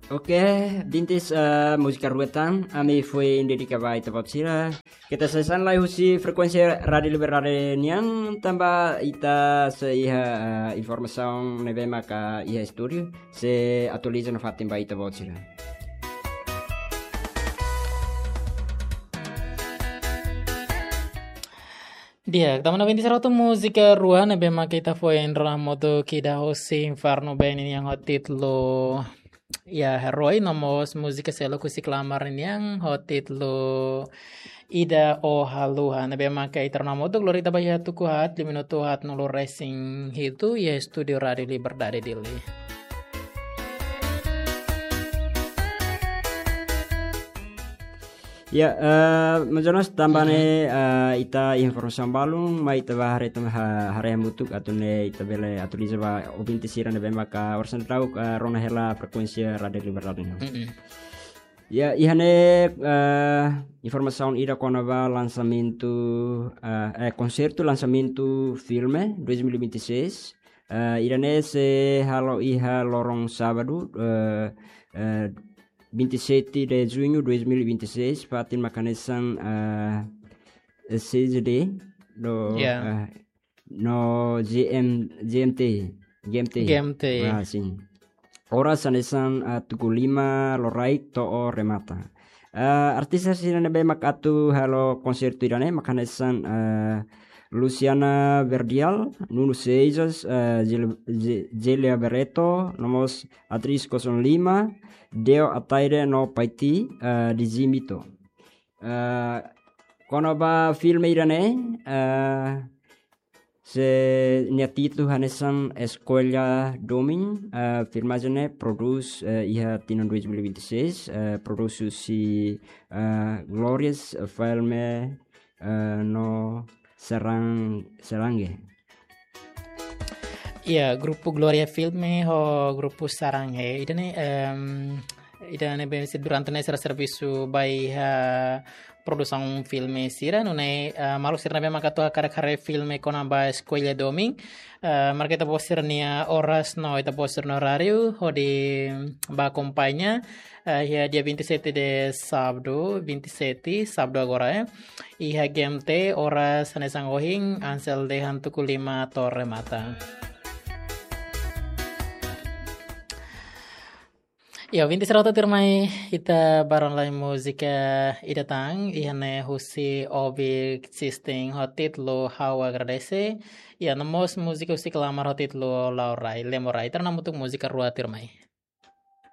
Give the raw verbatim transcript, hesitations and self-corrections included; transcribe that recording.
Oke, bintis, eh, múzika rua tan, ami foin dedika ba ita-boot sira. Keta sai hanesan lai husi frekuénsia Rádiu Liberdade nian, tanba ita sei iha, eh, informasaun ne'ebé maka iha estúdiu, sei atualiza nafatin ba ita-boot sira. Di'ak, tanba ne'e bintis rua tan múzika rua ne'ebé maka ita foin rona hamutuk, ida husi Inferno Band nian ho títulu Iha Herói, no mós múzika seluk husi Klamar nian ho títulu Ida Ó Haluha. Ne'ebé maka ita rona hamutuk, lori ita ba iha tuku haat, lima minutu haat, no lori resin hitu, iha estúdiu Rádiu Liberdade Dili. Ya, eh, maun Jonas, tanba ne'e, eh, ita informasaun balun, mai ita ba haree tan ha-, haree hamutuk atu nune'e ita bele atualiza ba ouvinte sira ne'ebé maka oras ne'e daudaun, eh, rona hela frekuénsia Rádiu Liberdade nian. Mm-mm. Ya, iha ne'e, eh, informasaun ida kona-ba lansamentu, eh, eh, konsertu lansamentu filme dois mil e vinte e seis. Eh, ida-ne'e sei halo iha loron sábadu, eh, eh, vinte e sete de junho dois mil e vinte e seis, fatin maka hanesan, eh, C Z D, no, Ya. eh, no G M, G M T, G M T. G M T. Ah, sin. Oras hanesan, ah, tuku lima loraik to'o remata. Ah, artis sira ne'ebé mak atu halo konsertu ida-ne'e mak hanesan, ah, Luciana Verdial, Nuno Seixas, ah, Gel-, Ge-, Gelia Barreto, no mós Atriz Kosong Lima, Deo Ataide no Paiti, ah, Dizimito. Ah, kona-ba filme ida-ne'e, ah, se nia títulu hanesan Escolha Domin, ah, filmajen ne'e prodús, eh, iha tinan dois mil e vinte e seis, eh, prodús husi, eh, Glorious Filme, eh, no Serang-, Serange. Ya, grupu Gloria Filme ho grupu Sarange. Ida-ne'e, em, ida-ne'e bem se durante ne'e sira servisu ba iha produsaun filme sira, nune'e, eh, maluk sira ne'ebé maka atu hakarak haree filme kona-ba Escolha Domin, eh, marka ita-boot sira-nia oras no ita-boot sira-nia oráriu, hodi ba akompaña, eh, iha dia vinte e sete de sábadu, vinte e sete, sábadu agora, eh. Iha G M T, oras hanesan ohin, hanesan dehan tuku lima to'o remata. Ya, ouvinte sira hotu, tuirmai ita ba rona lai múzika ida tan, iha ne'e husi Obic System ho títulu Ha'u Agradese, ya, no mós múzika husi Klamar ho títulu La'o Rai, Lemo Rai. Ita rona hamutuk múzika rua tuirmai.